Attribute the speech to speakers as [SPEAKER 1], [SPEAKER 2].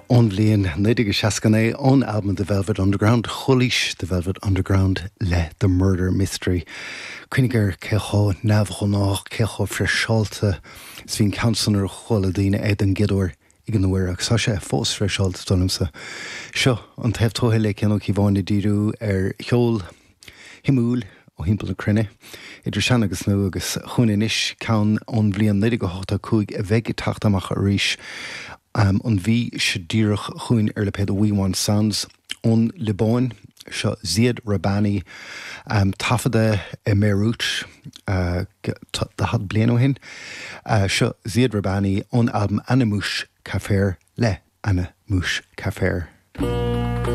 [SPEAKER 1] Ón bhliain 1969, ón albam The Velvet Underground, chualaís The Velvet Underground le The Murder Mystery. Cuimhnigh ar cé chomh neamhghnách, cé chomh freiseáilte is a bhí an ceann san nuair a chuala daoine é den gcéad uair ag an uair, agus tá sé fós freiseáilte, dar liomsa. Seo an Taobh Tuaithe le Cian Ó Cíobháin ag díriú ar cheol shuimiúil ó thimpeall na cruinne, idir sean agus nua, agus chugainn anois ceann ón bhliain 1985 a bheidh ag teacht amach arís an mhí seo díreach chugainn ar lipéad We Want Sounds ón Liobáin. Seo Ziad Rahbani, taifeadta i mBeirut 40 bliain ó shin. Seo Ziad Rahbani ón albam Ana Mouch Kafir le Ana Mouch Kafir.